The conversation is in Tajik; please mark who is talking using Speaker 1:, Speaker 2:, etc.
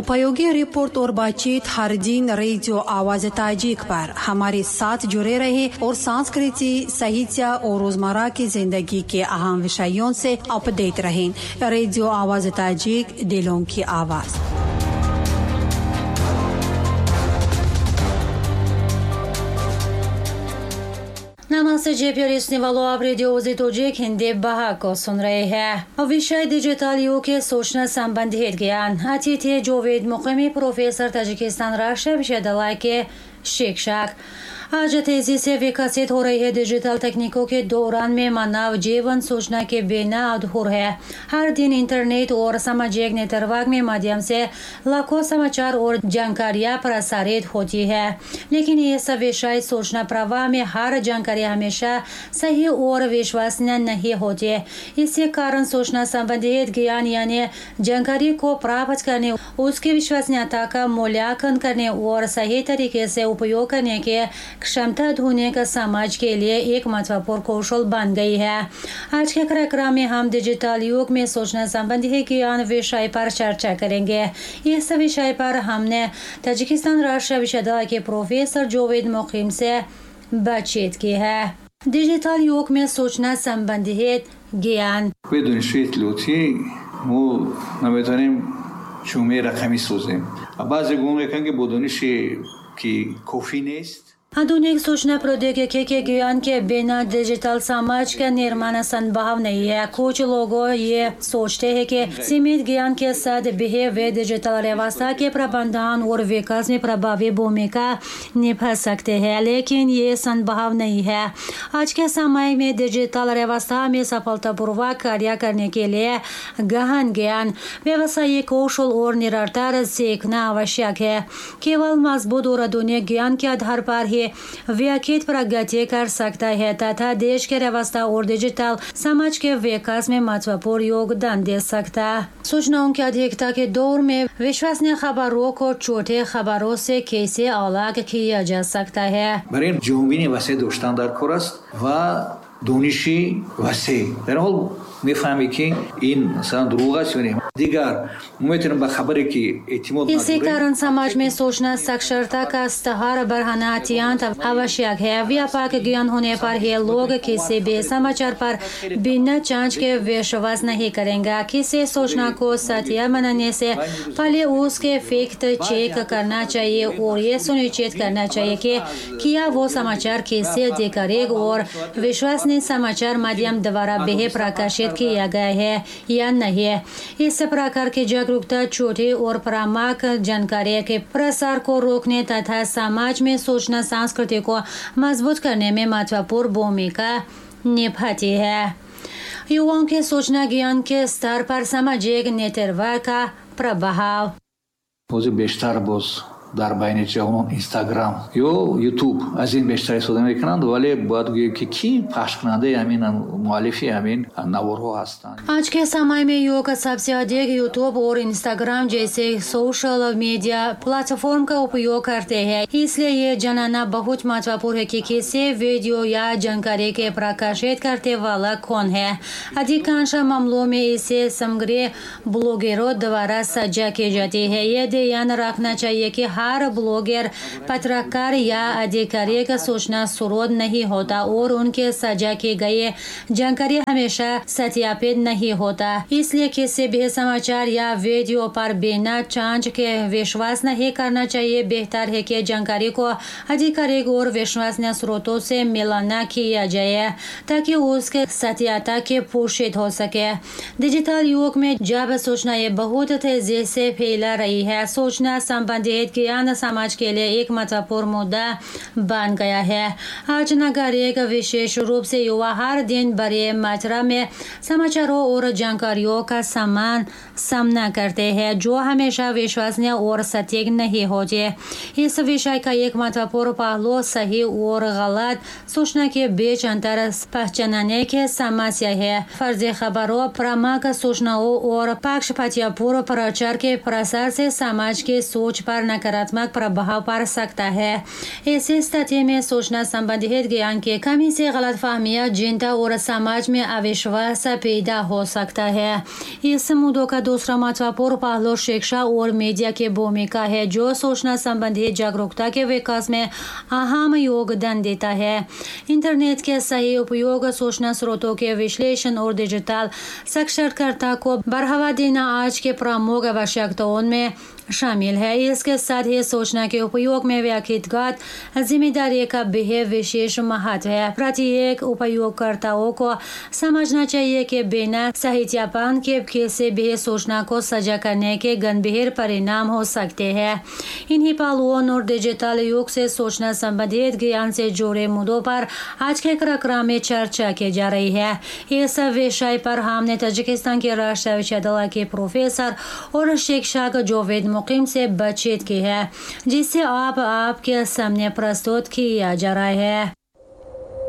Speaker 1: उपयोगी रिपोर्ट और बातचीत हर दिन रेडियो आवाज ताजिक पर हमारे साथ जुड़े रहे और संस्कृति, साहित्य और रोजमर्रा की जिंदगी के अहम विषयों से अपडेट रहें। रेडियो आवाज ताजिक, दिलों की आवाज।
Speaker 2: नमस्ते जी प्यारे सुनने वालों, आप रेडियो आवाज़ ताजिक हिंदी बहा को सुन रहे हैं। विषय डिजिटल युग के सूचना संबंधित ज्ञान। अतिथि जोवेद मुकीमी, प्रोफेसर, ताजिकिस्तान राष्ट्रीय विश्वविद्यालय के शिक्षक। आज तेजी से विकसित हो रही है डिजिटल तकनीकों के दौरान में मानव जीवन सूचना के बिना अधूरा है। हर दिन इंटरनेट और सामाजिक नेटवर्क में माध्यम से लाखों समाचार और जानकारियां प्रसारित होती है, लेकिन ये सब विषय सूचना प्रवाह में हर जानकारी हमेशा सही और विश्वसनीय नहीं होती। इसी कारण सूचना संबंधित ज्ञान यानी जानकारी को प्राप्त करने, उसकी विश्वसनीयता का मूल्यांकन करने और सही तरीके से उपयोग करने के क्षमता आधुनिक समाज के लिए एक महत्वपूर्ण कौशल बन गई है। आज के कार्यक्रम में हम डिजिटल युग में सूचना संबंधी ज्ञान विषय पर चर्चा करेंगे। इस विषय पर हमने ताजिकिस्तान राष्ट्रीय विश्वविद्यालय के प्रोफेसर जोवेद मुकीम से बातचीत की है। डिजिटल युग में सूचना संबंधित ज्ञान।
Speaker 3: дониши иттилоотӣ мо наметавонем ҷомеаи рақамӣ созем. Баъзе гумон мекунанд, ки бо дониши ки кофӣ нест।
Speaker 2: आधुनिक सूचना प्रौद्योगिकी के ज्ञान के बिना डिजिटल समाज का निर्माण संभव नहीं है। कुछ लोगों ये सोचते हैं कि सीमित ज्ञान के साथ भी वे डिजिटल व्यवस्था के प्रबंधन और विकास में प्रभावी भूमिका निभा सकते हैं, लेकिन ये संभव नहीं है। आज के समय में डिजिटल व्यवस्था में सफलतापूर्वक कार्य करने के लिए गहन ज्ञान, व्यवसायिक कौशल और निरंतर सीखना आवश्यक है। केवल मजबूत और आधुनिक ज्ञान के आधार पर ही व्यक्ति प्रगति कर सकता है तथा देश के व्यवस्था और डिजिटल समाज के विकास में महत्वपूर्ण योगदान दे सकता है। सूचनाओं की अधिकता के दौर में विश्वसनीय खबरों को छोटे खबरों से कैसे अलग किया जा सकता है?
Speaker 3: барои ин ҷаҳонбинии васеъ доштан дар кор аст ва дониши васеъ. Дар ҳол мефаҳмӣ, ки ин масалан дурӯғ аст ё не. Дигар мо метавонем ба хабаре ки эътимод
Speaker 2: इसी कारण समाज में सूचना साक्षरता का स्तर बढ़ाना अत्यंत आवश्यक है। व्यापक ज्ञान होने पर ही लोग किसी भी समाचार पर बिना जांच के विश्वास नहीं करेंगे। किसी सूचना को सत्य मानने से पहले उसके फैक्ट चेक करना चाहिए और ये सुनिश्चित करना चाहिए कि क्या वो समाचार किसी आधिकारिक और विश्वसनीय समाचार माध्यम द्वारा भी प्रकाशित किया गया है या नहीं। इस प्रकार की जागरूकता छोटी और भ्रामक जानकारी के प्रसार को रोकने तथा समाज में सूचना संस्कृति को मजबूत करने में महत्वपूर्ण भूमिका निभाती है। युवाओं के सूचना ज्ञान के स्तर पर सामाजिक नेटवर्क का प्रभाव।
Speaker 3: ҳозир бештар боз дар байни ҷавонон Инстаграм ё Ютуб аз ин бештар истифода мекунанд, вале бояд гӯем, ки кӣ пахшкунандаи ҳамин, муаллифи ҳамин наворҳо ҳастанд.
Speaker 2: आज के समय में युवक सबसे अधिक यूट्यूब और इंस्टाग्राम जैसे social media platform का उपयोग करते हैं, इसलिए ये जानना बहुत महत्वपूर्ण है कि किसी वीडियो या जानकारी के प्रकाशित करने वाला कौन है। अधिकांश मामलों में इसे सामग्री ब्लॉगरों द्वारा साझा की जाती है। ये ध्यान रखना चाहिए कि हर ब्लॉगर पत्रकार या आधिकारिक सूचना स्रोत नहीं होता और उनके साझा की गई जानकारी हमेशा सत्यापित नहीं होता। इसलिए किसी भी समाचार या वीडियो पर बिना जांच के विश्वास नहीं करना चाहिए। बेहतर है कि जानकारी को आधिकारिक और विश्वसनीय स्रोतों से मिलाना किया जाए ताकि उसके सत्यता की पुष्टि हो सके। डिजिटल युग में जब सूचनाएं बहुत तेजी से फैला रही है, सूचना संबंधित ज्ञान समाज के लिए एक महत्वपूर्ण मुद्दा बन गया है। आज नागरिक, विशेष रूप से युवा, हर दिन बड़े मात्रा में समाचारों और जानकारियों का सामान सामना करते हैं जो हमेशा विश्वसनीय और सटीक नहीं होते। इस विषय का एक महत्वपूर्ण पहलू सही और गलत सूचना के बीच अंतर पहचानने की समस्या है। फर्जी खबरों, भ्रामक सूचनाओं और पक्षपातपूर्ण प्रचार के प्रसार से समाज की सोच पर नकारात्मक नकारात्मक प्रभाव पड़ सकता है। ऐसी स्थिति में सूचना संबंधित ज्ञान की कमी से गलतफहमियां, चिंता और समाज में अविश्वास पैदा हो सकता है। इस मुद्दों का दूसरा महत्वपूर्ण पहलू शिक्षा और मीडिया की भूमिका है, जो सूचना संबंधित जागरूकता के विकास में अहम योगदान देता है। इंटरनेट के सही उपयोग, सूचना स्रोतों के विश्लेषण और डिजिटल साक्षरता को बढ़ावा देना आज के प्रमुख आवश्यकताओं में शामिल है। इसके साथ ही सूचना के उपयोग में व्यक्तिगत जिम्मेदारी का भी विशेष महत्व है। प्रत्येक उपयोगकर्ताओं को समझना चाहिए कि बिना सत्यापन के किसी भी सूचना को साझा करने के गंभीर परिणाम हो सकते हैं। इन्हीं पहलुओं और डिजिटल युग से सूचना संबंधित ज्ञान से जुड़े मुद्दों पर आज के कार्यक्रम में चर्चा की जा रही है। इस विषय पर हमने ताजिकिस्तान के राष्ट्रीय विश्वविद्यालय के प्रोफेसर और शिक्षक जावेद मुकीम से बातचीत की है, जिसे आप आपके सामने प्रस्तुत किया जा रहा है।